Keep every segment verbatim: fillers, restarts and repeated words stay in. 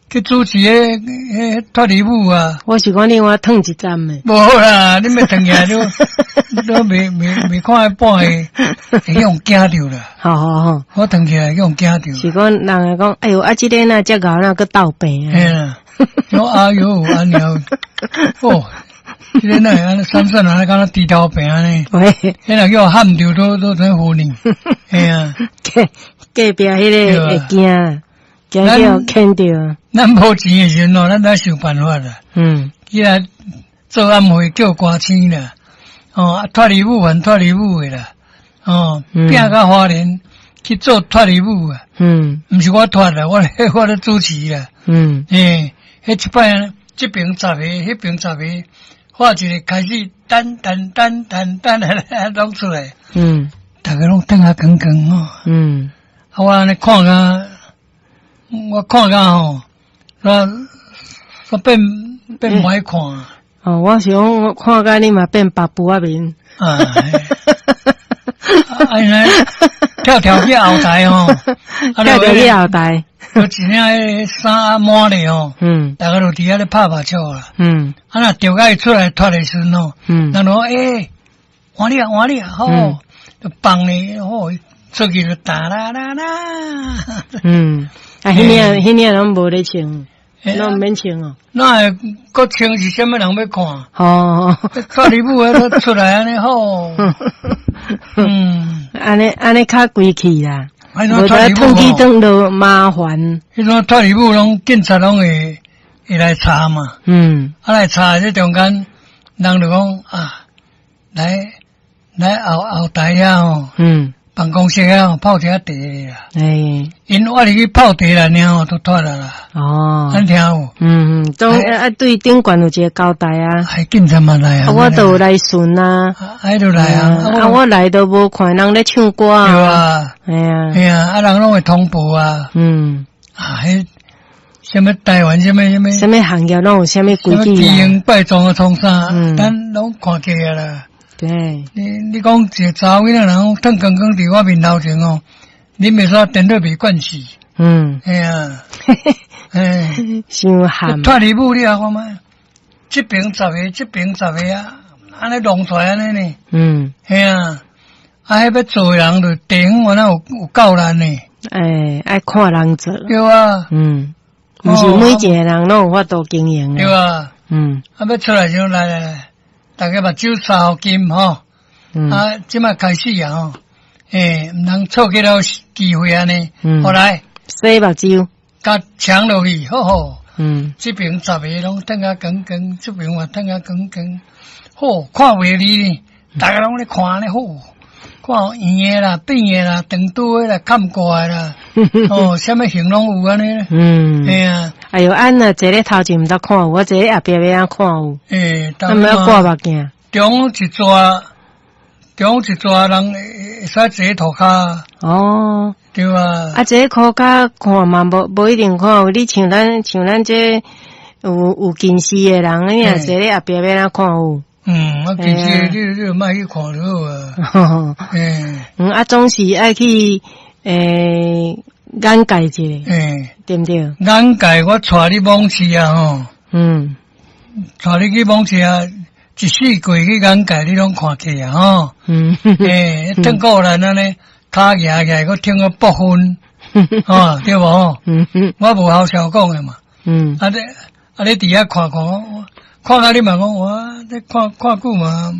去主持彼彼脫離舞啊。我是講你我褪一站的。無啦，你欲褪起來都都未未未看一半會會予人驚著啦。好好好，我褪起來予人驚著。是講人會講，哎喲，啊，這个若遮𠢕，若閣鬥病啊？嘿啦，我哎喲，按呢，哦，這个哪會按呢閃閃按呢，敢若豬頭病按呢？喂，彼若叫我喊著都都真糊呢。嘿啊，隔隔壁彼个會驚，驚叫牽著。咱無錢的時陣哦，咱來想辦法啦。嗯。起來做暗會叫歌星啦，哦，啊，脫離舞還脫離舞的啦，哦，拚到花蓮去做脫離舞啊。嗯。毋是我脫啦，我我咧主持啦。嗯。欸，彼一擺這邊十个，彼邊十個，畫一个開始，噔噔噔噔噔，攏出來。嗯。逐家攏轉啊光光哦。嗯。啊，我按呢看甲，我看甲吼，我我變變無愛看。哦，我想我看甲你嘛變白布仔面。啊，啊，因為跳跳去後台吼，跳跳去後台，有一領彼衫滿咧吼，嗯，逐家就佇遐咧拍目笑啦。嗯，啊，若著甲伊出來脫的時陣吼，嗯，人就講欸，換你啊，換你啊，好，就放咧，好，出去就噠啦啦啦。嗯，啊，彼領彼領攏無咧穿。攏毋免穿哦。哪會閣穿是啥物人欲看？哦，脫離舞彼出來按呢好。嗯，按呢按呢較規氣啦。無得褪去轉就麻煩。彼種脫離舞攏警察攏會會來查嘛。嗯。啊來查這中間，人就講啊，來來後後台遐吼。嗯。辦公室遐泡一下茶啦。欸，𪜶我入去泡茶啦，爾吼都脫啦啦。哦，咱聽有。嗯嗯，總啊對頂懸有一個交代啊。還警察嘛來啊。我都有來巡啊。啊，都來啊。啊，我來都無看人咧唱歌啊。對啊。嘿啊。嘿啊，啊人攏會通報啊。嗯。啊，彼啥物台灣啥物啥物。啥物行業攏有啥物規矩啊？奇形怪狀的創啥？嗯。咱攏看過啊啦。對。你你講一個查某囡仔人褪光光佇我面頭前哦，你袂使顛倒袂慣勢。嗯。嘿啊。嘿。傷譀。脫離舞你看覓？這邊十個，這邊十個啊，按呢弄出來按呢呢。嗯。嘿啊，啊，彼欲做的人就地方原來有有夠難呢。欸，愛看人做。對啊。嗯。毋是每一個人攏有法度經營。對啊。嗯。啊，欲出來就來來來。逐家目睭三金吼，啊，這擺開始啊吼，欸，毋通錯過了機會按呢，好來，洗目睭，共搶落去，好好，嗯，這邊十個攏褪甲光光，這邊嘛褪甲光光，好，看袂離呢，逐家攏咧看咧好，看圓的啦、扁的啦、長刀的啦、崁蓋的啦，哦，啥物型攏有按呢，嗯，嘿啊，哎喲，按若坐咧頭前毋捌看有，我坐咧後壁欲按怎看有？欸，啊，毋愛掛目鏡。中一逝，中一逝人會使坐塗跤。哦，對啊。啊，坐塗跤看嘛，無無一定看有。你像咱像咱這有有近視的人，你若坐咧後壁欲按怎看有？嗯，啊，近視你你就莫去看就好啊。欸，嗯，啊，總是愛去欸眼界一下，欸，對毋對？眼界我帶你摸市啊吼。嗯。帶你去摸市啊，一四季去眼界，你攏看起啊吼。嗯。欸，褪過來按呢，跤舉起來，閣聽個爆分，哦，對無？嗯嗯。我無好笑講的嘛。嗯。啊你啊你佇遐看看，看甲你嘛講，哇，這看看久嘛，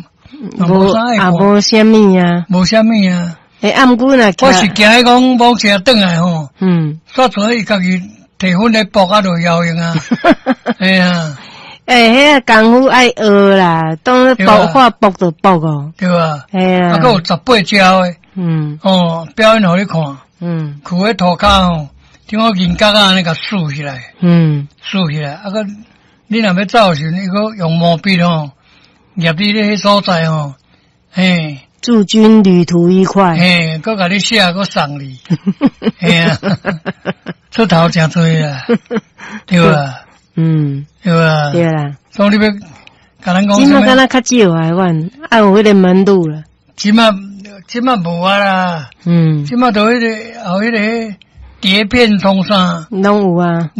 無啊無啥物啊，無啥物啊。欸，啊毋過若我是驚伊講某車轉來吼，嗯，煞做伊家己提粉咧搏啊，就搖用啊，嘿啊。欸，彼个功夫愛學啦，當搏話搏就搏哦。對啊。嘿啊。啊，閣有十八招的。嗯。哦，表演予你看。嗯。跍咧塗跤吼，聽講銀角仔按呢共豎起來。嗯。豎起來，啊閣你若欲走的時陣，伊閣用毛筆吼，入你咧彼所在吼，嘿。祝君旅途愉快。嘿，閣共你寫，閣送你。嘿啊，出頭誠濟啦，對啊。嗯，對啊。對啦。所以你欲共人講，這馬敢若較少啊，阮啊有彼个門路啦。這馬這馬無啊啦。嗯。這馬都彼个後彼个碟片創啥？攏有啊。